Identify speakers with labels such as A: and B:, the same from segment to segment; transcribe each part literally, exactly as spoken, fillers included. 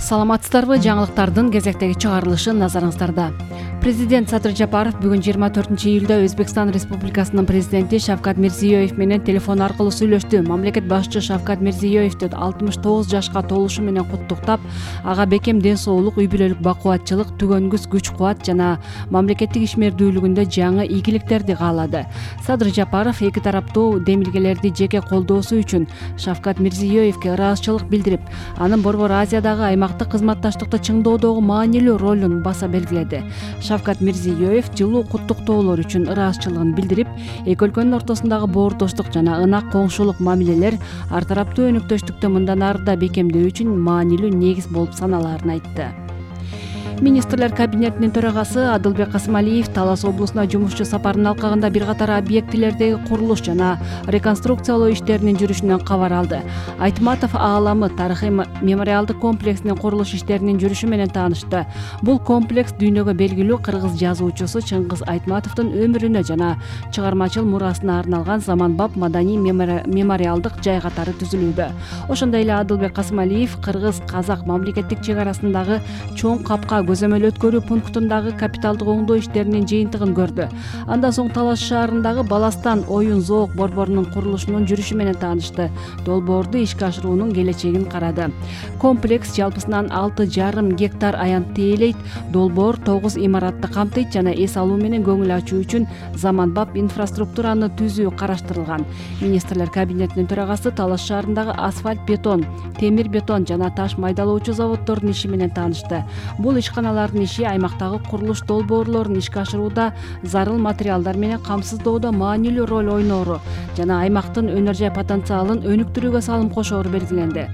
A: Саламатсыздарбы? Жаңылыктардын кезектеги чыгарылышы назарыңыздарда. Президент Садыр Жапаров бүгүн жыйырма төртүнчү июлда Өзбекстан Республикасынын президенти Шавкат Мирзиёев менен телефон аркылуу сүйлөштү. Мамлекет башчы Шавкат Мирзиёевди алтымыш тогуз жашка толушу менен куттуктап, ага бекем ден соолук, үй бүлөлүк бакубатчылык, түгөнгүс күч кубат жана мамлекеттик ишмердүүлүгүндө жаңы ийгиликтерди каалады. Садыр Жапаров эки тараптуу демилгелерди жеке колдоосу үчүн Шавкат Мирзиёевге ыраазычылык билдирип, анын Борбор Азиядагы аймактык кызматташтыкты чыңдоодогу маанилүү ролун баса белгиледи. Шавкат Мирзиёев жылуу куттуктоолор үчүн ыраазычылыгын билдирип, эки өлкөнүн ортосундагы боордоштук жана ынак коңшулук мамилелер ар тараптуу өнөктөштүктү мындан ары да бекемдөө үчүн маанилүү негиз болуп саналаарын айтты. Министрлер кабинетинин төрагасы Адылбек Касымалиев Талас облусуна жумушчу сапарынын алкагында бир катар объектилердеги курулуш жана реконструкциялоо иштеринин жүрүшүнөн кабар алды. Айтматов ааламы тарыхый мемориалдык комплексинин курулуш иштеринин жүрүшү менен таанышты. Бул комплекс дүйнөгө белгилүү кыргыз жазуучусу Чыңгыз Айтматовдун өмүрүнө жана чыгармачыл мурасына арналган заманбап маданий мемориалдык жай катары түзүлүүдө. Ошондой эле Адылбек Касымалиев кыргыз-казак мамлекеттик чек арасындагы чоң капка көзөмөл өткөрүү пунктундагы капиталдык оңдоо иштеринин жыйынтыгын көрдү. Андан соң Талас шаарындагы Баластан оюн зоок борборунун курулушунун жүрүшү менен таанышты. Долбоорду ишке ашыруунун келечегин карады. Комплекс жалпысынан алты жарым гектар аянтты ээлейт. Долбоор тогуз имаратты камтыйт жана эс алуу менен көңүл ачуу үчүн заманбап инфраструктураны түзүү караштырылган. Министрлер кабинетинин төрагасы Талас шаарындагы асфальт, бетон, темир бетон жана таш майдалоочу заводдордун иши менен таанышты. Бул ишканалардын иши аймактагы курулуш долбоорлорун ишке ашырууда зарыл материалдар менен камсыздоодо маанилүү роль ойноору жана аймактын өнөр жай потенциалын өнүктүрүүгө салым кошоору белгиленди.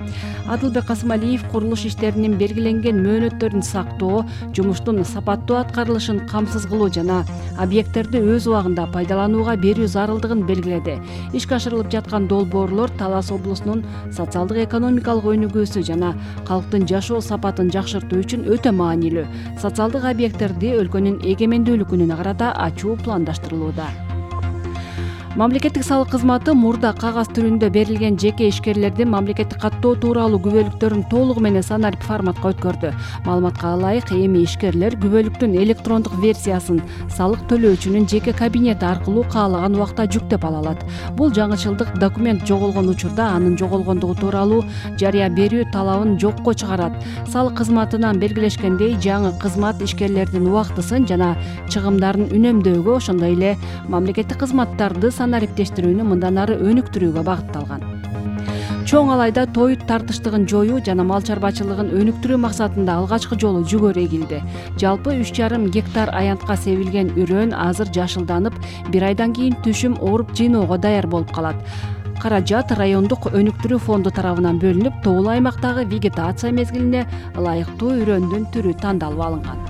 A: Адылбек Касымалиев курулуш иштеринин белгиленген мөөнөттөрүн сактоо, жумуштун сапаттуу аткарылышын камсыз кылуу жана объекттерди өз убагында пайдаланууга берүү зарылдыгын белгиледи. Ишке ашырылып жаткан долбоорлор Талас облусунун социалдык экономикалык өнүгүүсү жана калктын жашоо сапатын жакшыртуу үчүн өтө маанилүү. Социалдык объекттерди өлкөнүн эгемендүүлүк күнүнө карата ачуу пландаштырылууда. Мамлекеттик салык кызматы мурда кагаз түрүндө берилген жеке ишкерлердин мамлекеттик каттоо тууралуу күбөлүктөрүн толугу менен санарип форматка өткөрдү. Маалыматка ылайык, эми ишкерлер күбөлүктүн электрондук версиясын салык төлөөчүнүн жеке кабинети аркылуу каалаган убакта жүктөп ала алат. Бул жаңычылдык документ жоголгон учурда анын жоголгондугу тууралуу жарыя берүү талабын жокко чыгарат. Салык кызматынан белгилешкендей, жаңы кызмат ишкерлердин убактысын жана чыгымдарын үнөмдөөгө, ошондой эле мамлекеттик кызматтарды санариптештирүүнү мындан ары өнүктүрүүгө багытталган. Чоң алайда той тартыштыгын жоюу жана мал чарбачылыгын өнүктүрүү максатында алгачкы жолу жүгөрү эгилди. Жалпы үч жарым гектар аянтка себилген үрөөн азыр жашылданып, бир айдан кийин түшүм ооруп жыйноого даяр болуп калат. Каражат райондук өнүктүрүү фонду тарабынан бөлүнүп, тоолуу аймактагы вегетация мезгилине ылайыктуу үрөөндүн түрү тандалып алынган.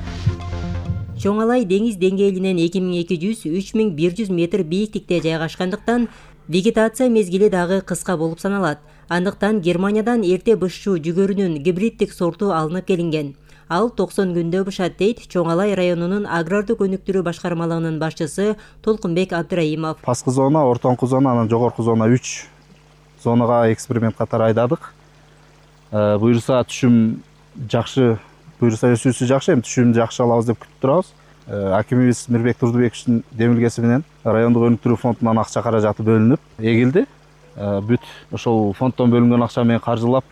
B: Чоң Алай деңиз деңгээлинен эки миң эки жүз — үч миң бир жүз метр бийиктикте жайгашкандыктан вегетация мезгили дагы кыска болуп саналат. Андыктан Германиядан эрте бышчу жүгөрүнүн гибриддик сорту алынып келинген. Ал токсон күндө бышат, дейт Чоң Алай районунун агрардык өнүктүрүү башкармалыгынын башчысы Толкунбек Абдыраимов.
C: Паскы зона, ортоңку зона, анан жогорку зона үч зонага эксперимент катары айдадык. Буюрса түшүм жакшы Буюрса өсүүсү жакшы, эми түшүмдү жакшы алабыз деп күтүп турабыз. Акимибиз Мирбек Турдубековичтин демилгеси менен райондук өнүктүрүү фондунан акча каражаты бөлүнүп эгилди. Бүт ошол фонддон бөлүнгөн акча менен каржылап,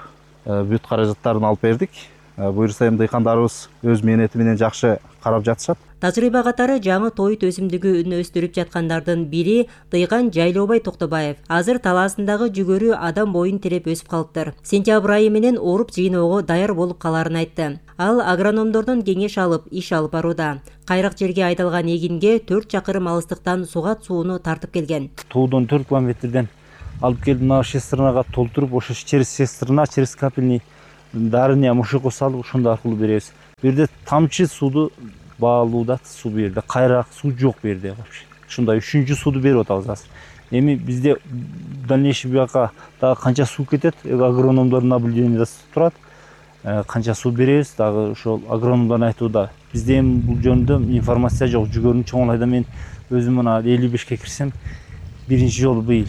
C: бүт каражаттарын алып бердик. Буюрса эми дыйкандарыбыз өз мээнети менен жакшы карап жатышат.
B: Тажрыйба катары жаңы тоют өсүмдүгүн өстүрүп жаткандардын бири дыйкан Жайлообай Токтобаев. Азыр талаасындагы жүгөрү адам боюн тиреп өсүп калыптыр. Сентябрь айы менен ооруп жыйноого даяр болуп каларын айтты. Ал агрономдордон кеңеш алып, иш алып барууда. Кайрак жерге айдалган эгинге төрт чакырым алыстыктан сугат сууну тартып келген.
D: Тоодон төрт километрден алып келип, мына шестернага толтуруп, ошо через шестерна, через капельный дарыня мушукку салып, ошондо аркылуу беребиз. Бу жерде тамчы сууду баалууда, суу бу жерде кайрак суу жок бу жерде вообще. Ушундай үчүнчү сууду берип атабыз азыр. Эми бизде дальнейший бияка дагы канча суу кетет, агрономдордун наблюденияда турат. Канча суу беребиз, дагы ошол агрономдордун айтууда. Бизде эми бул жөнүндө информация жок. Жүгөрүнүн Чоң Алайда мен өзүм мына элүү бешке кирсем, биринчи жолу быйыл.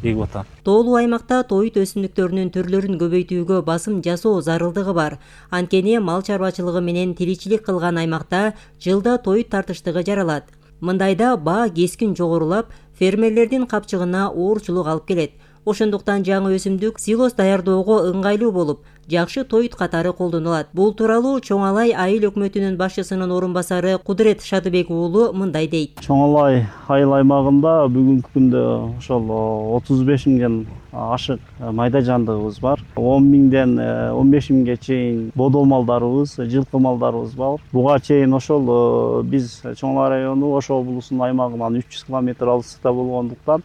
D: эгип атам.
B: Тоолуу аймакта тоют өсүмдүктөрүнүн түрлөрүн көбөйтүүгө басым жасоо зарылдыгы бар. Анткени мал чарбачылыгы менен тиричилик кылган аймакта жылда тоют тартыштыгы жаралат. Мындайда баа кескин жогорулап, фермерлердин капчыгына оорчулук алып келет. Ошондуктан жаңы өсүмдүк силос даярдоого ыңгайлуу болуп, жакшы тоют катары колдонулат. Бул тууралуу Чоң Алай айыл өкмөтүнүн башчысынын орун басары Кудурет Шадыбек уулу мындай дейт.
E: Чоң Алай айыл аймагында бүгүнкү күндө ошол отуз беш миңден ашык майда жандыгыбыз бар. он миңден он беш миңге чейин бодо малдарыбыз, жылкы малдарыбыз бар. Буга чейин ошол биз Чоң Алай району Ош облусунун аймагынан үч жүз километр алыстыкта болгондуктан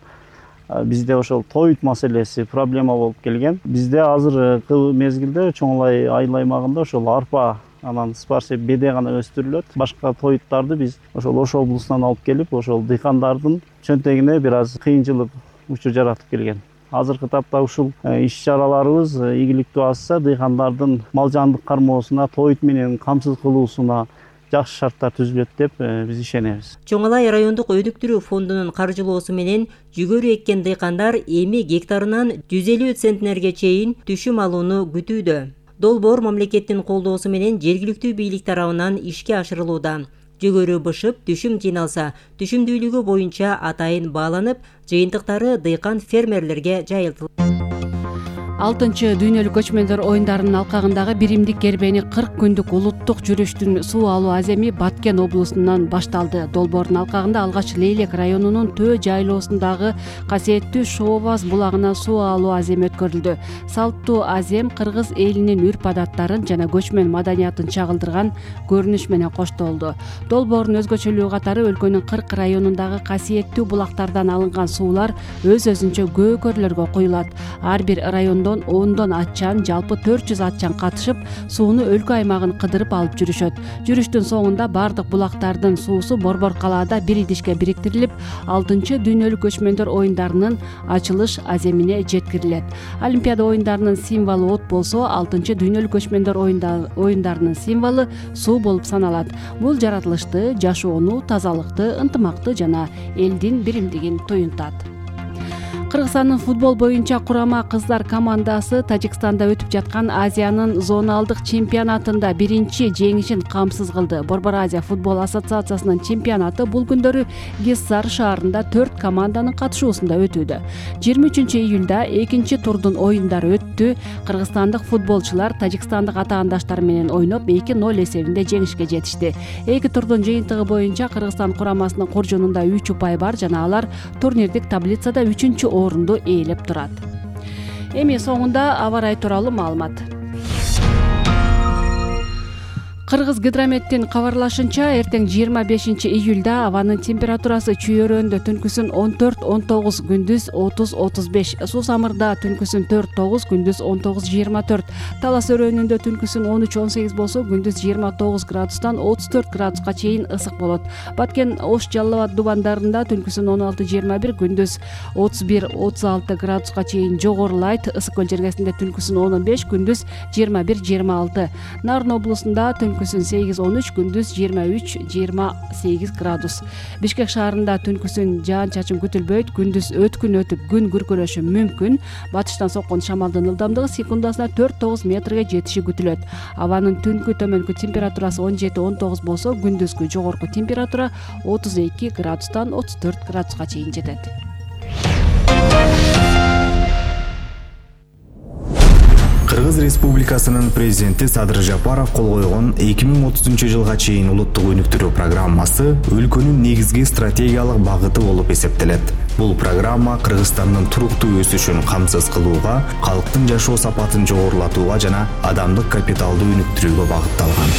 E: бизде ошол тоют маселеси проблема болуп келген. Бизде азыркы мезгилде Чоң Алай айыл аймагында ошол арпа, анан спарсе, беде гана өстүрүлөт. Башка тоюттарды биз ошол Ош облусунан алып келип, ошол дыйкандардын чөнтөгүнө бир аз кыйынчылык учур жаратып келген. Азыркы тапта ушул иш-чараларыбыз ийгиликтүү асса, дыйкандардын мал жандык кармоосуна, тоют менен камсыз кылуусуна жакшы шарттар түзүлөт деп биз ишенебиз.
B: Чоң Алай райондук өйдүктүрүү фондунун каржылоосу менен жүгөрү эккен дыйкандар эми гектарынан жүз элүү центнерге чейин түшүм алууну күтүүдө. Долбоор мамлекеттин колдоосу менен жергиликтүү бийлик тарабынан ишке ашырылууда. Жүгөрү бышып, түшүм жыйналса, түшүмдүүлүгү боюнча атайын бааланып, жыйынтыктары дыйкан фермерлерге жайылтылат.
A: алтынчы дүйнөлүк көчмөндөр оюндарынын алкагындагы биримдик кербени кырк күндүк улуттук жүрүштүн суу алуу аземи Баткен облусунан башталды. Долбоордун алкагында алгач Лейлек районунун Төө жайлоосундагы касиеттүү Шообаз булагына суу алуу аземи өткөрүлдү. Салттуу азем кыргыз элинин үрп-адаттарын жана көчмөн маданиятын чагылдырган көрүнүш менен коштолду. Долбоордун өзгөчөлүгү катары өлкөнүн кырк районундагы касиеттүү булактардан алынган суулар өз-өзүнчө көкөрлөргө куюлат. Ар бир райондон ондон атчан, жалпы төрт жүз атчан катышып, сууну өлкө аймагын кыдырып алып жүрүшөт. Жүрүштүн соңунда бардык булактардын суусу Борбор калаада бир идишке бириктирилип, алтынчы дүйнөлүк көчмөндөр оюндарынын ачылыш аземине жеткирилет. Олимпиада оюндарынын символу от болсо, алтынчы дүйнөлүк көчмөндөр оюндарынын символу суу болуп саналат. Бул жаратылышты, жашоону, тазалыкты, ынтымакты жана элдин биримдигин туюнтат. Кыргызстандын футбол боюнча курама кыздар командасы Тажикстанда өтүп жаткан Азиянын зоналдык чемпионатында биринчи жеңишин камсыз кылды. Борбор Азия футбол ассоциациясынын чемпионаты бул күндөрү Гиссар шаарында төрт команданын катышуусунда өтүүдө. жыйырма үчүнчү июлда экинчи турдун оюндары өттү. Кыргызстандык футболчулар тажикстандык атаандаштары менен ойноп эки ноль эсебинде жеңишке жетишти. Эки турдун жыйынтыгы боюнча Кыргызстан курамасынын куржунунда үч упай бар жана алар турнирдик таблицада үчүнчү орунду ээлеп турат. Эми соңунда аба ырайы тууралуу маалымат. Кыргыз гидрометтин кабарлашынча, эртең жыйырма бешинчи июлда абанын температурасы чүйөрөндө түнкүсүн он төрт он тогуз, күндүз отуз отуз беш, Суу Самырда түнкүсүн төрт тогуз, күндүз он тогуз жыйырма төрт, Талас өрөөнүндө түнкүсүн он үч он сегиз болсо, күндүз жыйырма тогуз градустан отуз төрт градуска чейин ысык болот. Баткен, Ош, Жалал Абад дубандарында түнкүсүн он алты жыйырма бир, күндүз отуз бир отуз алты градуска чейин жогорулайт. Ысык көл жергесинде түнкүсүн он беш, күндүз жыйырма бир жыйырма алты. Нарын облусунда түнкүсүн сегиз он үч, күндүз жыйырма үч жыйырма сегиз градус. Бишкек шаарында түнкүсүн жаан-чачын күтүлбөйт, күндүз өткүн өтүп күн күркүрөшү мүмкүн. Батыштан соккон шамалдын ылдамдыгы секундасына төрт тогуз метрге жетиши күтүлөт. Абанын түнкү төмөнкү температурасы он жети он тогуз болсо, күндүзгү жогорку температура отуз эки градустан отуз төрт градуска чейин жетет.
F: Кыргыз Республикасынын президенти Садыр Жапаров кол койгон эки миң отузунчу жылга чейин улуттук өнүктүрүү программасы өлкөнүн негизги стратегиялык багыты болуп эсептелет. Бул программа Кыргызстандын туруктуу өсүшүн камсыз кылууга, калктын жашоо сапатын жогорулатууга жана адамдык капиталды өнүктүрүүгө багытталган.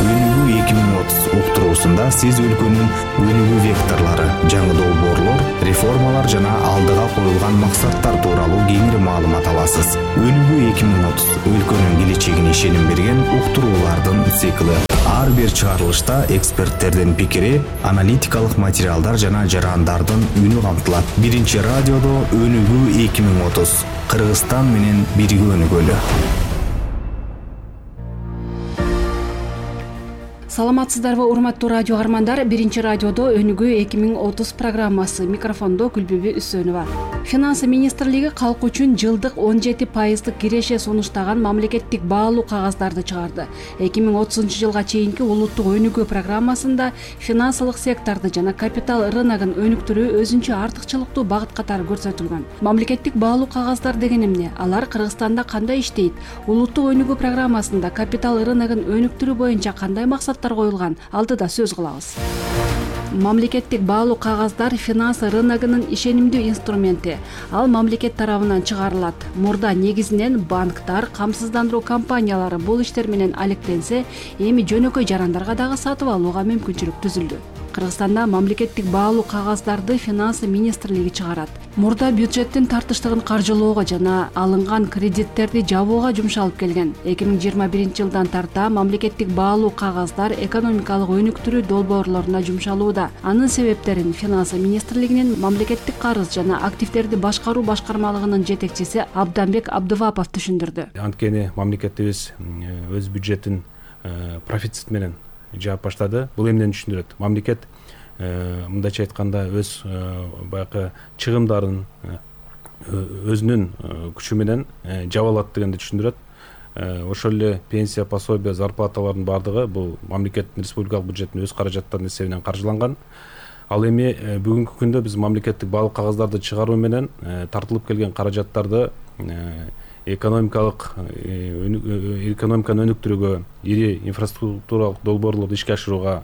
F: Өнүгүү эки миң отуз уктуруусунда сиз өлкөнүн өнүгүү векторлору, жаңы долбоорлор, реформалар жана алдыга коюлган максаттар тууралуу кеңири маалымат аласыз. Өнүгүү эки миң отуз өлкөнүн келечегине ишеним берген уктуруулардын циклы. Ар бир чыгарылышта эксперттердин пикири, аналитикалык материалдар жана жарандардын үнү камтылат. Биринчи радиодо Өнүгүү эки миң отуз. Кыргызстан менен бирге өнүгөлү.
A: Саламатсыздарбы урматтуу радио армандар. Биринчи радиодо өнүгүү эки миң отуз программасы. Микрофондо Күлбүбү Үсөнова. Финансы министрлиги калк үчүн жылдык он жети пайыздык киреше сунуштаган мамлекеттик баалуу кагаздарды чыгарды. эки миң отузунчу жылга чейинки улуттук өнүгүү программасында финансылык секторду жана капитал рыногун өнүктүрүү өзүнчө артыкчылыктуу багыт катары көрсөтүлгөн. Мамлекеттик баалуу кагаздар деген эмне? Алар Кыргызстанда кандай иштейт? Улуттук өнүгүү программасында капитал рыногун өнүктүрүү боюнча кандай максаттар коюлган? Алдыда сөз кылабыз. Мамлекеттик баалуу кагаздар финансы рыногунун ишенимдүү инструменти. Ал мамлекет тарабынан чыгарылат. Мурда негизинен банктар, камсыздандыруу компаниялары бул иштер менен алектенсе, эми жөнөкөй жарандарга дагы сатып алууга мүмкүнчүлүк түзүлдү. Кыргызстанда мамлекеттик баалуу кагаздарды финансы министрлиги чыгарат. Мурда бюджеттин тартыштыгын каржылоого жана алынган кредиттерди жабууга жумшалып келген. эки миң жыйырма биринчи жылдан тарта мамлекеттик баалуу кагаздар экономикалык өнүктүрүү долбоорлоруна жумшалууда. Анын себептерин финансы министрлигинин мамлекеттик карыз жана активдерди башкаруу башкармалыгынын жетекчиси Абданбек Абдывапов түшүндүрдү.
G: Анткени мамлекетибиз өз бюджетин профицит менен жаап баштады. Бул эмнени түшүндүрөт? Мамлекет мындайча айтканда өз баягы чыгымдарын өзүнүн күчү менен жаба алат дегенди түшүндүрөт. Ошол эле пенсия, пособие, зарплаталардын баардыгы бул мамлекеттин республикалык бюджеттин өз каражаттарынын эсебинен каржыланган. Ал эми бүгүнкү күндө биз мамлекеттик баалуу кагаздарды чыгаруу менен тартылып келген каражаттарды экономикалык экономиканы өнүктүрүүгө, ири инфраструктуралык долбоорлорду ишке ашырууга,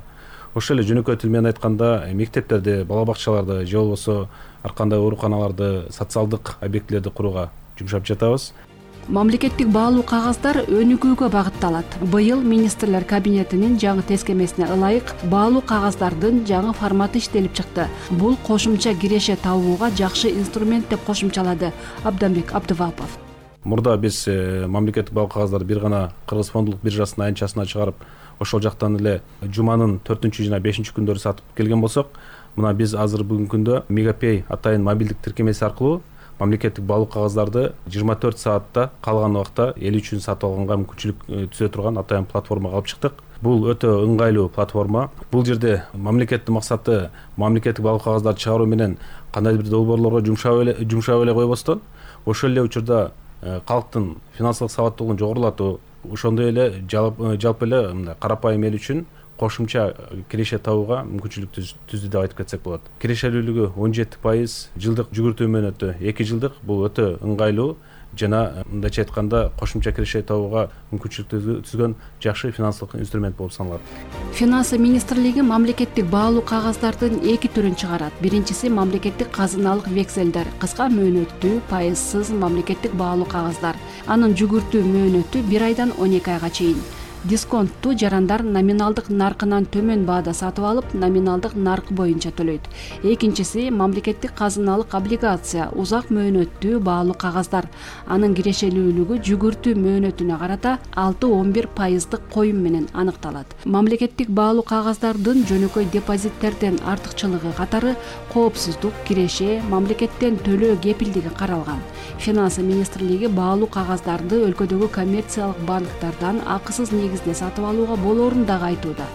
G: ошол эле жөнөкөй тил менен айтканда мектептерди, бала бакчаларды же болбосо ар кандай ооруканаларды, социалдык объектилерди курууга жумшап жатабыз.
A: Мамлекеттик баалуу кагаздар өнүгүүгө багытталат. Быйыл министрлер кабинетинин жаңы тескемесине ылайык баалуу кагаздардын жаңы форматы иштелип чыкты. Бул кошумча киреше табууга жакшы инструмент деп кошумчалады Абданбек Абдывапов.
G: Мурда биз мамлекеттик баалуу кагаздарды бир гана Кыргыз фондулук биржасынын айнчасына чыгарып, ошол жактан эле жуманын төртүнчү жана бешинчи күндөрү сатып келген болсок, мына биз азыр бүгүнкү күндө Мегапей атайын мобилдик тиркемеси аркылуу мамлекеттик баалуу кагаздарды жыйырма төрт саатта калган убакта эл үчүн сатып алганга мүмкүнчүлүк түзө турган атайын платформага алып чыктык. Бул өтө ыңгайлуу платформа. Бул жерде мамлекеттин максаты мамлекеттик баалуу кагаздарды чыгаруу менен кандайдыр бир долбоорлорго жумшап эле жумшап эле койбостон, ошол эле учурда калктын финансылык сабаттуулугун жогорулатуу, ошондой эле жалпы эле мындай карапайым эл үчүн кошумча киреше табууга мүмкүнчүлүк түздү деп айтып кетсек болот. Кирешелүүлүгү он жети пайыз, жылдык жүгүртүү мөөнөтү эки жылдык. Бул өтө ыңгайлуу жана мындайча айтканда кошумча киреше табууга мүмкүнчүлүк түзгөн жакшы финансылык инструмент болуп саналат.
A: Финансы министрлиги мамлекеттик баалуу кагаздардын эки түрүн чыгарат. Биринчиси мамлекеттик казыналык векселдер, кыска мөөнөттүү, пайызсыз мамлекеттик баалуу кагаздар. Анын жүгүртүү мөөнөтү бир айдан он эки айга чейин. Дисконтту жарандар номиналдык наркынан төмөн баада сатып алып, номиналдык нарк боюнча төлөйт. Экинчиси мамлекеттик казыналык облигация, узак мөөнөттүү баалуу кагаздар. Анын кирешелүүлүгү жүгүртүү мөөнөтүнө карата алты он бир пайыздык коюм менен аныкталат. Мамлекеттик баалуу кагаздардын жөнөкөй депозиттерден артыкчылыгы катары коопсуздук, киреше, мамлекеттен төлөө кепилдиги каралган. Финансы министрлиги баалуу кагаздарды өлкөдөгү коммерциялык банктардан акысыз негизде сатып алууга болоорун дагы айтууда.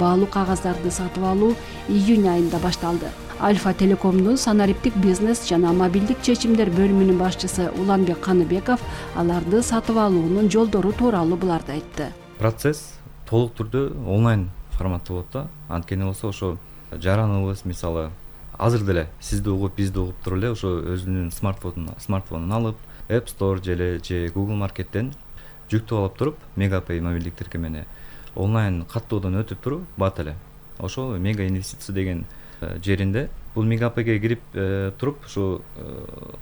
A: Баалуу кагаздарды сатып алуу июнь айында башталды. Альфа Телекомдун санариптик бизнес жана мобилдик чечимдер бөлүмүнүн башчысы Уланбек Каныбеков аларды сатып алуунун жолдору тууралуу буларды айтты.
H: Процесс толук түрдө онлайн форматта болот да. Анткени болсо ошо жараныбыз мисалы азыр деле сизди угуп, бизди угуп туруп эле ошо өзүнүн смартфонун смартфонун алып, App Store же же Google Market'тен жүктөп алып туруп, Мегапей мобилдик тиркемени онлайн каттоодон өтүп туруп, бат эле ошол Мега инвестиция деген жеринде, бул Мегапейге кирип туруп, ошо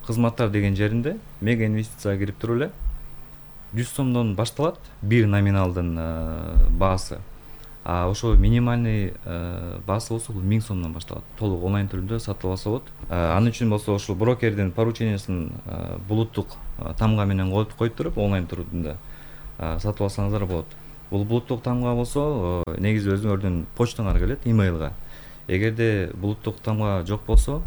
H: кызматтар деген жеринде Мега инвестицияга кирип туруп эле жүз сомдон башталат бир номиналдын баасы. А ошо минимальный баасы болсо бул миң сомдон башталат. Толук онлайн түрүндө сатып алса болот. Анын үчүн болсо ошол брокердин поручениясын булуттук тамга менен коюп коюп туруп онлайн түрүндө сатып алсаңыздар болот. Бул булуттук тамга болсо негизи өзүңөрдүн почтаңарга келет, имейлга. Эгерде булуттук тамга жок болсо,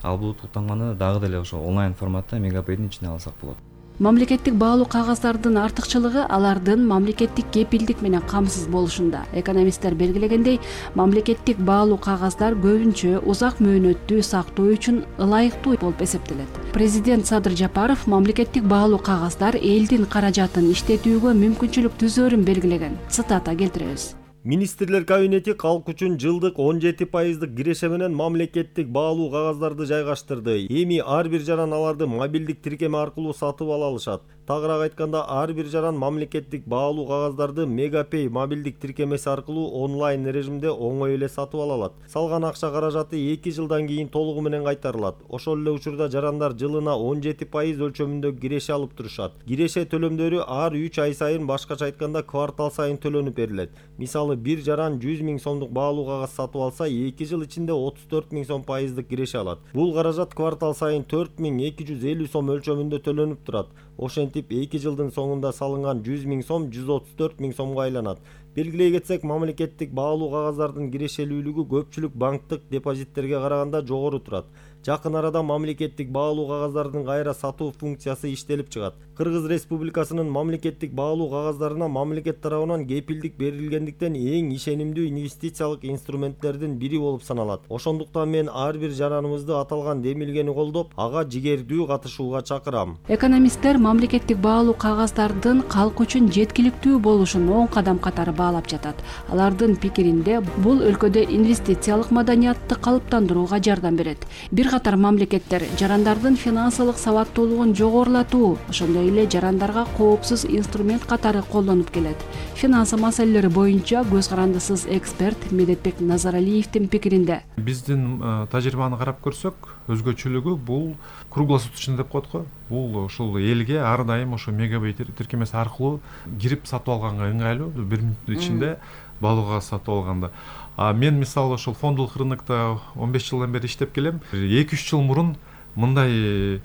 H: ал булуттук тамганы дагы деле ошо онлайн форматта Мегапейдин ичине алсак болот.
A: Мамлекеттик баалуу кагаздардын артыкчылыгы алардын мамлекеттик кепилдик менен камсыз болушунда. Экономисттер белгилегендей, мамлекеттик баалуу кагаздар көбүнчө узак мөөнөттүү сактоо үчүн ылайыктуу болуп эсептелет. Президент Садыр Жапаров мамлекеттик баалуу кагаздар элдин каражатын иштетүүгө мүмкүнчүлүк түзөөрүн белгилеген. Цитата келтиребиз.
I: Министрлер кабинети калк үчүн жылдык он жети пайыздык киреше менен мамлекеттик баалуу кагаздарды жайгаштырды. Эми ар бир жаран аларды мобилдик тиркеме аркылуу сатып ала алышат. Тагыраак айтканда, ар бир жаран мамлекеттик баалуу кагаздарды Мегапей мобилдик тиркемеси аркылуу онлайн режимде оңой эле сатып ала алат. Салган акча каражаты эки жылдан кийин толугу менен кайтарылат. Ошол эле учурда жарандар жылына он жети пайыз өлчөмүндө киреше алып турушат. Киреше төлөмдөрү ар үч ай сайын, башкача айтканда квартал сайын төлөнүп берилет. Мисалы, бир жаран жүз миң сомдук баалуу кагаз сатып алса, эки жыл ичинде отуз төрт миң сом пайыздык киреше алат. Бул каражат квартал сайын төрт миң эки жүз элүү сом өлчөмүндө төлөнүп турат. Ошентип эки жылдын соңунда салынган жүз миң сом жүз отуз төрт миң сомго айланат. Белгилей кетсек, мамлекеттик баалуу кагаздардын кирешелүүлүгү көпчүлүк банктык депозиттерге караганда жогору турат. Жакын арада мамлекеттик баалуу кагаздардын кайра сатуу функциясы иштелип чыгат. Кыргыз Республикасынын мамлекеттик баалуу кагаздарына мамлекет тарабынан кепилдик берилгендиктен эң ишенимдүү инвестициялык инструменттердин бири болуп саналат. Ошондуктан мен ар бир жараныбызды аталган демилгени колдоп, ага жигердүү катышууга чакырам.
A: Экономисттер мамлекеттик баалуу кагаздардын калк үчүн жеткиликтүү болушун оң кадам катары баалап жатат. Алардын пикиринде, бул өлкөдө инвестициялык маданиятты калыптандырууга жардам берет. Бир катар мамлекеттер жарандардын финансылык сабаттуулугун жогорулатуу, ошондой эле жарандарга коопсуз инструмент катары колдонуп келет. Финансы маселелери боюнча көз карандысыз эксперт Медетбек Назаралиевдин пикиринде,
J: биздин тажрыйбаны карап көрсөк, өзгөчөлүгү бул круглосуточный деп коет го. Бул ушул элге ар дайым ошо Мегапей тиркемеси аркылуу кирип сатып алганга ыңгайлуу, бир мүнөттүн ичинде баалуу кагаз сатып алганда. А мен мисалы ошол фондулук рынокто он беш жылдан бери иштеп келем. эки үч жыл мурун мындай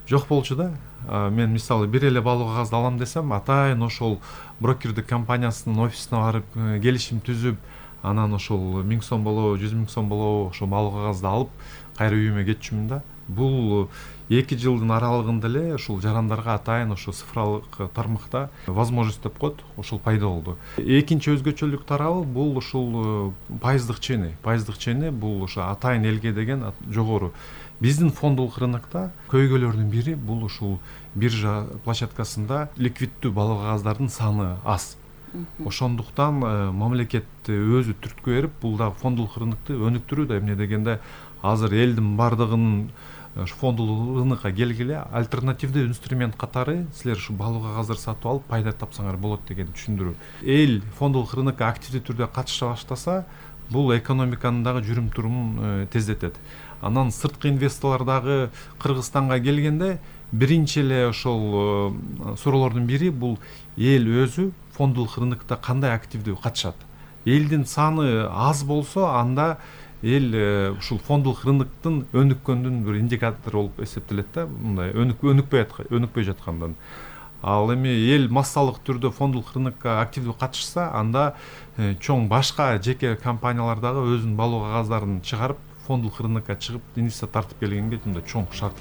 J: жок болчу да. Мен мисалы бир эле баалуу кагазды алам десем, атайын ошол брокердик компаниясынын офисине барып келишим түзүп, анан ошол миң сом болобу, жүз миң сом болобу ошол баалуу кагазды алып кайра үйүмө кетчүмүн да. Бул эки жылдын аралыгында эле ушул жарандарга атайын ошо цифралык тармакта возможность деп коет, ошол пайда болду. Экинчи өзгөчөлүк тарабы бул ушул пайыздык чени. Пайыздык чени бул ошо атайын элге деген жогору. Биздин фондулук рынокто көйгөйлөрдүн бири бул ушул биржа площадкасында ликвиддүү баалуу кагаздардын саны аз. Ошондуктан мамлекет өзү түрткү берип, бул дагы фондулук рынокту өнүктүрүүдө, эмне дегенде азыр элдин бардыгынын фондулук рынокко келгиле альтернативдүү инструмент катары силер ушу баалуу кагаздарды сатып алып пайда тапсаңар болот деген түшүндүрүү. Эл фондулук рынокко активдүү түрдө катыша баштаса, бул экономиканын дагы жүрүм турумун тездетет. Анан сырткы инвесторлор дагы Кыргызстанга келгенде биринчи эле ошол суроолордун бири бул эл өзү фондулук рынокто кандай активдүү катышат. Элдин саны аз болсо, анда эл ушул фондулук рыноктун өнүккөндүн бир индикатору болуп эсептелет да, мындай өнүкпөй өнүкпөй жаткандан. Ал эми эл массалык түрдө фондулук рынокко активдүү катышса, анда чоң башка жеке компаниялар дагы өзүнүн баалуу кагаздарын чыгарып, фондулук рынокко чыгып, инвестиция тартып келгенге мындай чоң шарт.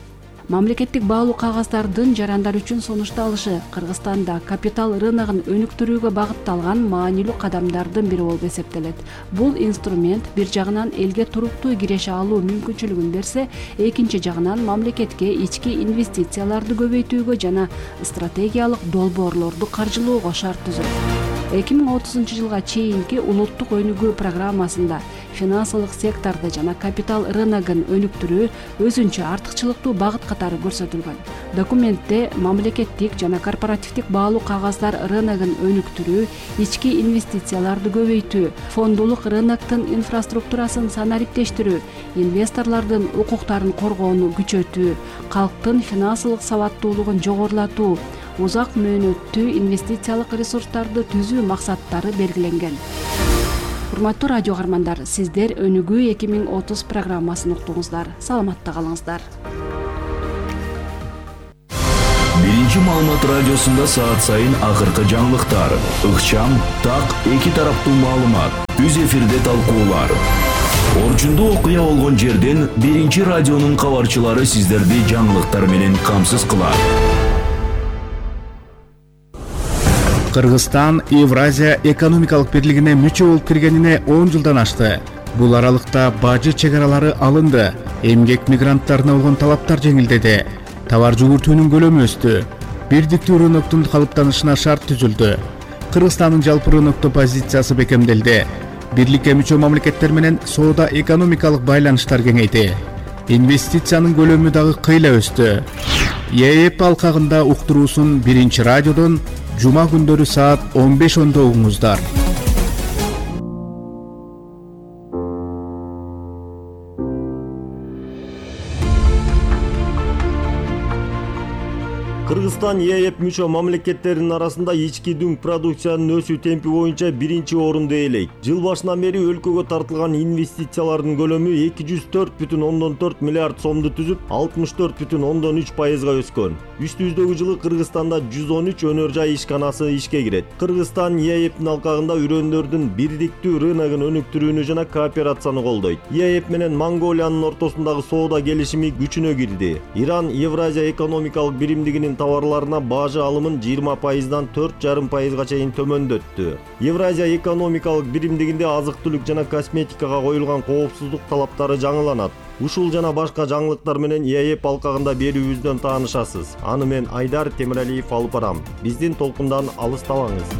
A: Мамлекеттик баалуу кагаздардын жарандар үчүн сунушталышы Кыргызстанда капитал рыногун өнүктүрүүгө багытталган маанилүү кадамдардын бири болуп эсептелет. Бул инструмент бир жагынан элге туруктуу киреше алуу мүмкүнчүлүгүн берсе, экинчи жагынан мамлекетке ички инвестицияларды көбөйтүүгө жана стратегиялык долбоорлорду каржылоого шарт түзөт. эки миң отузунчу жылга чейинки улуттук өнүгүү программасында финансылык секторду жана капитал рыногун өнүктүрүү өзүнчө артыкчылыктуу багыт катары көрсөтүлгөн. Документте мамлекеттик жана корпоративдик баалуу кагаздар рыногун өнүктүрүү, ички инвестицияларды көбөйтүү, фондулук рыноктун инфраструктурасын санариптештирүү, инвесторлордун укуктарын коргоону күчөтүү, калктын финансылык сабаттуулугун жогорулатуу, узак мөөнөттүү инвестициялык ресурстарды түзүү максаттары белгиленген. Урматтуу радио каармандар, сиздер Өнүгүү эки миң отуз программасын уктуңуздар. Саламатта калыңыздар.
K: Биринчи маалымат радиосунда саат сайын акыркы жаңылыктар, ыкчам, так, эки тараптуу маалымат, үз эфирде талкуулар. Орчундуу окуя болгон жерден биринчи радионун кабарчылары сиздерди жаңылыктар менен камсыз кылат.
L: Кыргызстан Евразия экономикалык бирлигине мүчө болуп киргенине он жылдан ашты. Бул аралыкта бажы чегаралары алынды, эмгек мигранттарына болгон талаптар жеңилдеди, товар жүгүртүүнүн көлөмү өстү, бирдиктүү рыноктун калыптанышына шарт түзүлдү. Кыргызстандын жалпы рынокто позициясы бекемделди. Бирликке мүчө мамлекеттер менен соода экономикалык байланыштар кеңейди. Инвестициянын көлөмү дагы кыйла өстү. ЕЭП алкагында уктуруусун биринчи радиодон жума күндөрү саат он беш ондо угуңуздар.
I: Кыргызстан ЕЭП мүчө мамлекеттеринин арасында ички дүң продукциянын өсүү темпи боюнча биринчи орунду ээлейт. Жыл башынан бери өлкөгө тартылган инвестициялардын көлөмү эки жүз төрт бүтүн ондон төрт миллиард сомду түзүп, алтымыш төрт бүтүн ондон үч пайызга өскөн. Үстүбүздөгү жылы Кыргызстанда жүз он үч өнөр жай ишканасы ишке кирет. Кыргызстан ЕЭПтин алкагында үрөндөрдүн бирдиктүү рыногун өнүктүрүүнү жана кооперацияны колдойт. ЕЭП менен Монголиянын ортосундагы соода келишими күчүнө кирди. Иран Евразия экономикалык биримдигинин товарларына бажы алымын жыйырма пайыздан төрт жарым пайызга чейин төмөндөттү. Евразия экономикалык биримдигинде азык-түлүк жана косметикага коюлган коопсуздук талаптары жаңыланат. Ушул жана башка жаңылыктар менен ЕЭП алкагында берүүбүздөн таанышасыз. Аны мен Айдар Темиралиев алып барам. Биздин толкундан алыстабаңыз.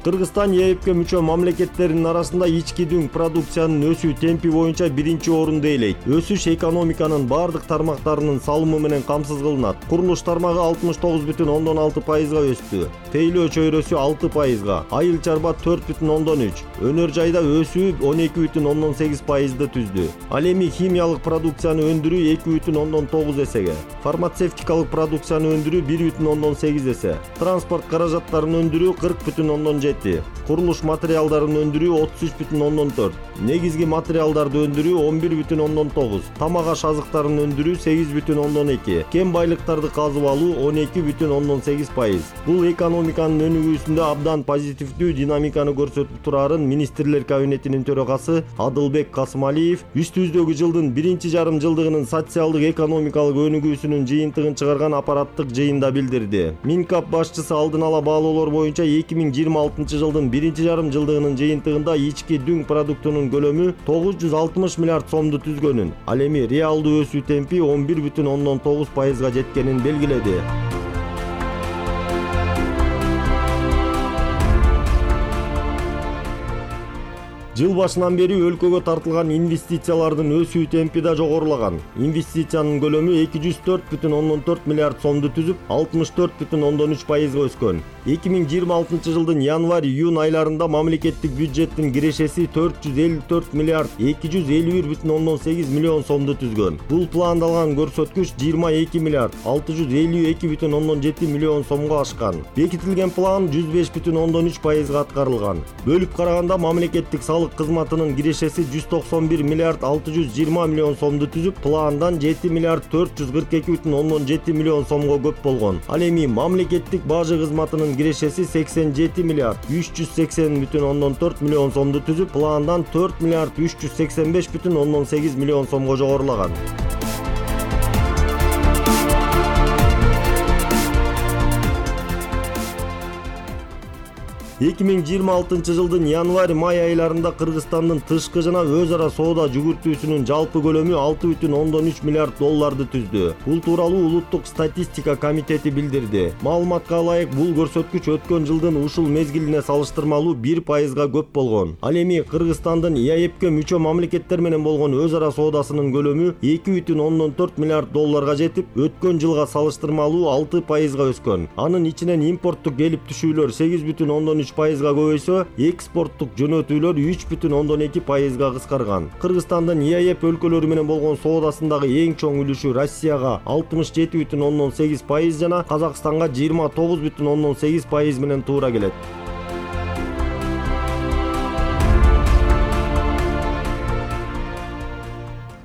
I: Кыргызстан ЕЭПке мүчө мамлекеттеринин арасында ички дүң продукциянын өсүү темпи боюнча биринчи орунду ээлейт. Өсүш экономиканын бардык тармактарынын салымы менен камсыз кылынат. Курулуш тармагы алтымыш тогуз бүтүн ондон алты пайызга өстү. Тейлөө чөйрөсү алты пайызга, айыл чарба төрт бүтүн ондон үч, өнөр жайда өсүү он эки бүтүн ондон сегиз пайызды түздү. Ал эми химиялык продукцияны өндүрүү эки бүтүн ондон тогуз эсеге, фармацевтикалык продукцияны өндүрүү бир бүтүн ондон сегиз эсе, транспорт каражаттарын өндүрүү кырк бүтүн ондон жети, курулуш материалдарын өндүрүү отуз үч бүтүн ондон төрт, негизги материалдарды өндүрүү он бир бүтүн ондон тогуз, тамак аш азыктарын өндүрүү сегиз бүтүн ондон эки, кен байлыктарды казып алуу он эки бүтүн ондон сегиз пайыз. Бул экономиканын өнүгүүсүндө абдан позитивдүү динамиканы көрсөтүп турарын министрлер кабинетинин төрагасы Адылбек Касымалиев үстүбүздөгү жылдын биринчи жарым жылдыгынын социалдык экономикалык өнүгүүсүнүн жыйынтыгын чыгарган аппараттык жыйында билдирди. Минкап башчысы алдын ала баалоолор боюнча эки миң жыйырма алтынчы жылдын биринчи жарым жылдыгынын жыйынтыгында ички дүң продуктунун көлөмү тогуз жүз алтымыш миллиард сомду түзгөнүн, ал эми реалдуу өсүү темпи он бир бүтүн ондон тогуз пайызга жеткенин белгиледи. Жыл башынан бери өлкөгө тартылган инвестициялардын өсүү темпи да жогорулаган. Инвестициянын көлөмү эки жүз төрт бүтүн ондон төрт миллиард сомду түзүп, алтымыш төрт бүтүн ондон үч пайызга өскөн. эки миң жыйырма алтынчы жылдын январь-июнь айларында мамлекеттик бюджеттин кирешеси төрт жүз элүү төрт миллиард эки жүз элүү бир бүтүн ондон сегиз миллион сомду түзгөн. Бул пландалган көрсөткүч жыйырма эки миллиард алты жүз элүү эки бүтүн ондон жети миллион сомго ашкан. Бекитилген план жүз беш бүтүн ондон үч пайызга аткарылган. Бөлүп караганда мамлекеттик кызматынын кирешеси жүз токсон бир миллиард алты жүз жыйырма миллион сомду түзүп, пландан жети миллиард төрт жүз кырк эки бүтүн ондон жети миллион сомго көп болгон. Ал эми мамлекеттик бажы кызматынын кирешеси сексен жети миллиард үч жүз сексен бүтүн ондон төрт миллион сомду түзүп, пландан төрт миллиард үч жүз сексен беш бүтүн ондон сегиз миллион сомго жогорулаган. эки миң жыйырма алтынчы жылдын январь-май айларында Кыргызстандын тышкы жана өз ара соода жүгүртүүсүнүн жалпы көлөмү алты бүтүн ондон үч миллиард долларды түздү. Бул тууралуу Улуттук статистика комитети билдирди. Маалыматка ылайык, бул көрсөткүч өткөн жылдын ушул мезгилине салыштырмалуу бир пайызга көп болгон. Ал эми Кыргызстандын ЕЭПке мүчө мамлекеттер менен болгон өз ара соодасынын көлөмү эки бүтүн ондон төрт миллиард долларга жетип, өткөн жылга салыштырмалуу алты пайызга өскөн. Анын ичинен импорттук келип түшүүлөр сегиз бүтүн ондон үч пайызга көбөйсө, экспорттук жөнөтүүлөр үч бүтүн ондон эки пайызга кыскарган. Кыргызстандын ЕЭП өлкөлөрү менен болгон соодасындагы эң чоң үлүшү Россияга алтымыш жети бүтүн ондон сегиз пайыз жана Казакстанга жыйырма тогуз бүтүн ондон сегиз пайыз менен туура келет.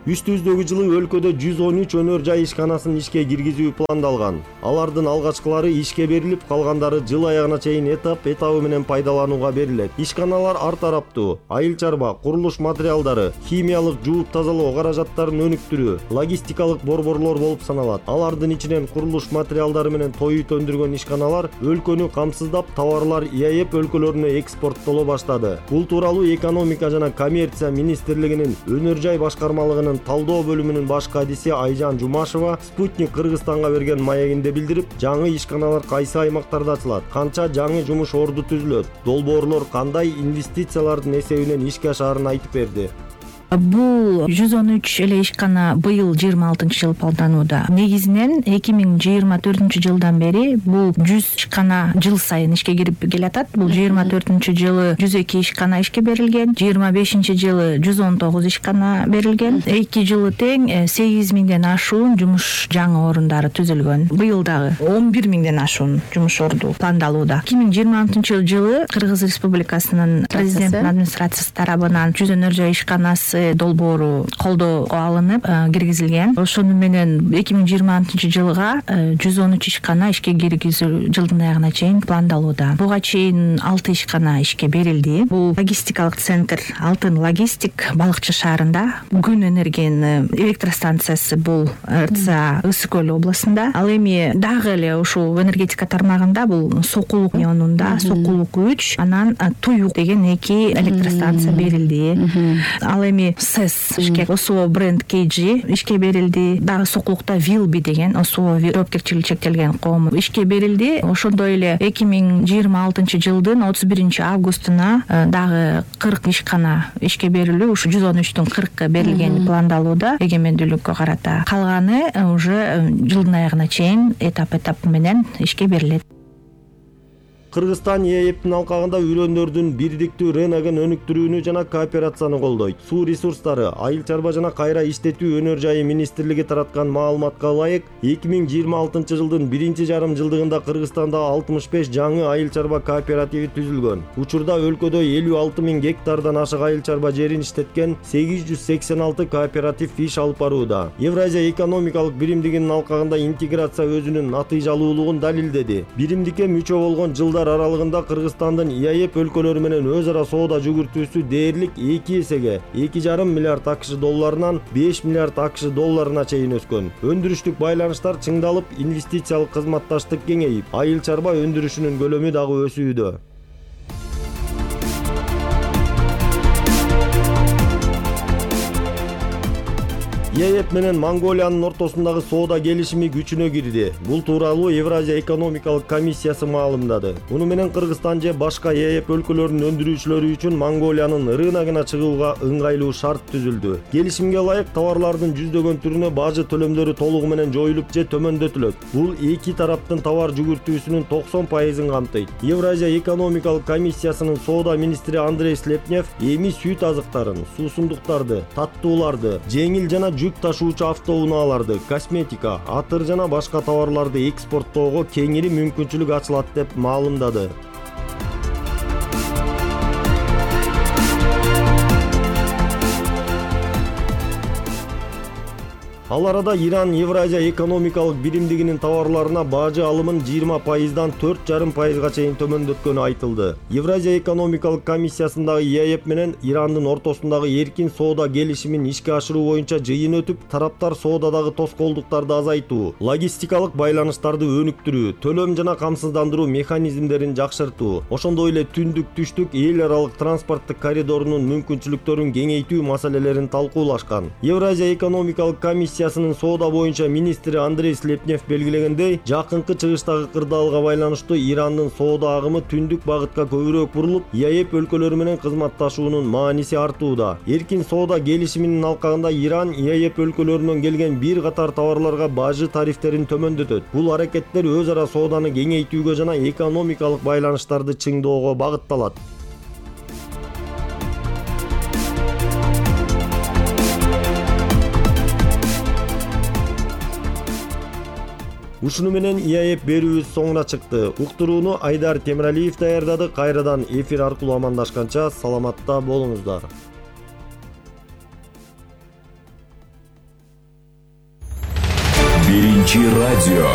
I: Үстүбүздөгү жылы өлкөдө жүз он үч өнөр жай ишканасын ишке киргизүү пландалган. Алардын алгачкылары ишке берилип, калгандары жыл аягына чейин этап этабы менен пайдаланууга берилет. Ишканалар ар тараптуу айыл чарба, курулуш материалдары, химиялык жууп тазалоо каражаттарын өнүктүрүү, логистикалык борборлор болуп саналат. Алардын ичинен курулуш материалдары менен той ут өндүргөн ишканалар өлкөнү камсыздап, товарлар ИАЭП өлкөлөрүнө экспорттоло баштады. Бул тууралуу экономика жана коммерция министрлигинин өнөр жай башкармалыгынын талдоо бөлүмүнүн баш кадиси Айжан Жумашева Спутник Кыргызстанга берген маегинде билдирип, жаңы ишканалар кайсы аймактарда ачылат, канча жаңы жумуш орду түзүлөт, долбоорлор кандай инвестициялардын эсебинен ишке ашаарын айтып берди.
M: Бул жүз он үч эле ишкана быйыл жыйырма алтынчы жыл палданууда. Негизинен эки миң жыйырма төртүнчү жылдан бери бул жүз ишкана жыл сайын ишке кирип келатат. Бул жыйырма төртүнчү жылы жүз эки ишкана ишке берилген, жыйырма бешинчи жылы жүз он тогуз ишкана берилген. эки жылы тең сегиз миңден ашуун жумуш жаңы орундары түзүлгөн. Быйыл дагы он бир миңден ашуун жумуш орду пландалууда. эки миң жыйырма алтынчы жылы Кыргыз Республикасынын президенттин администрациясы тарабынан жүз өнөр жай ишканасы долбоору колдоого алынып киргизилген. Ошону менен эки миң жыйырма алтынчы жылга жүз он үч ишкана ишке киргизүү жылдын аягына чейин пландалууда. Буга чейин алты ишкана ишке берилди. Бул логистикалык центр Алтын логистик Балыкчы шаарында, күн энергияны электростанциясы бул РЦА Ысык Көл областында. Ал эми дагы эле ушул энергетика тармагында бул Сокулук районунда Сокулук үч, анан Туюк деген эки электростанция берилди. Ал эми СЭС ишке ОСО бренд Кейджи ишке берилди. Дагы Сокулукта Вилби деген ОСО жоопкерчилиги чектелген коом ишке берилди. Ошондой эле эки миң жыйырма алтынчы жылдын отуз биринчи августуна дагы кырк ишкана ишке берилүү, ушу жүз он үчтүн кыркы берилгени пландалууда эгемендүүлүккө карата. Калганы уже жылдын аягына чейин этап этап менен ишке берилет.
I: Кыргызстан ИАЭПтин алкагында үрөндөрдүн бирдиктүү рыногун өнүктүрүүнү жана кооперацияны колдойт. Суу ресурстары, айыл чарба жана кайра иштетүү өнөр жайы министрлиги тараткан маалыматка ылайык, эки миң жыйырма алтынчы жылдын биринчи жарым жылдыгында Кыргызстанда алтымыш беш жаңы айыл чарба кооперативи түзүлгөн. Учурда өлкөдө элүү алты миң гектардан ашык айыл чарба жерин иштеткен сегиз жүз сексен алты кооператив иш алып барууда. Евразия экономикалык биримдигинин алкагында интеграция өзүнүн натыйжалуулугун далилдеди. Биримдикке мүчө болгон жылдар аралыгында Кыргызстандын ИАЭП өлкөлөрү менен өз ара соода жүгүртүүсү дээрлик эки эсеге эки жарым миллиард АКШ долларынан беш миллиард АКШ долларына чейин өскөн. Өндүрүштүк байланыштар чыңдалып, инвестициялык кызматташтык кеңейип, айыл чарба өндүрүшүнүн көлөмү дагы өсүүдө. ИАЭП менен Монголиянын ортосундагы соода келишими күчүнө кирди. Бул тууралуу Евразия экономикалык комиссиясы маалымдады. Муну менен Кыргызстан же башка ИАЭП өлкөлөрүнүн өндүрүүчүлөрү үчүн Монголиянын рыногуна чыгууга ыңгайлуу шарт түзүлдү. Келишимге ылайык товарлардын жүздөгөн түрүнө бажы төлөмдөрү толугу менен жоюлуп же төмөндөтүлөт. Бул эки тараптын товар жүгүртүүсүнүн токсон пайызын камтыйт. Евразия экономикалык комиссиясынын соода министри Андрей Слепнев эми сүт азыктарын, суусундуктарды, таттууларды, жеңил жана жүк ташуучу автоунааларды, косметика, атыр жана башка товарларды экспорттоого кеңири мүмкүнчүлүк ачылат деп маалымдады. Ал арада Иран Евразия экономикалык биримдигинин товарларына бажы алымын жыйырма пайыздан төрт жарым пайызга чейин төмөндөткөнү айтылды. Евразия экономикалык комиссиясындагы ИАЭП менен Ирандын ортосундагы эркин соода келишимин ишке ашыруу боюнча жыйын өтүп, тараптар соодадагы тоскоолдуктарды азайтуу, логистикалык байланыштарды өнүктүрүү, төлөм жана камсыздандыруу механизмдерин жакшыртуу, ошондой эле түндүк-түштүк эл аралык транспорттук коридорунун мүмкүнчүлүктөрүн кеңейтүү маселелерин талкуулашкан. Евразия экономикалык комиссия Комиссиясынын соода боюнча министри Андрей Слепнев белгилегендей, жакынкы чыгыштагы кырдаалга байланыштуу Ирандын соода агымы түндүк багытка көбүрөөк бурулуп, ИАЭП өлкөлөрү менен кызматташуунун мааниси артууда. Эркин соода келишиминин алкагында Иран ИАЭП өлкөлөрүнөн келген бир катар товарларга бажы тарифтерин төмөндөтөт. Бул аракеттер өз ара сооданы кеңейтүүгө жана экономикалык байланыштарды чыңдоого багытталат. Ушуну менен ИАЭП берүүбүз соңуна чыкты. Уктурууну Айдар Темиралиев даярдады. Кайрадан эфир аркылуу амандашканча саламатта болуңуздар.
K: биринчи радио.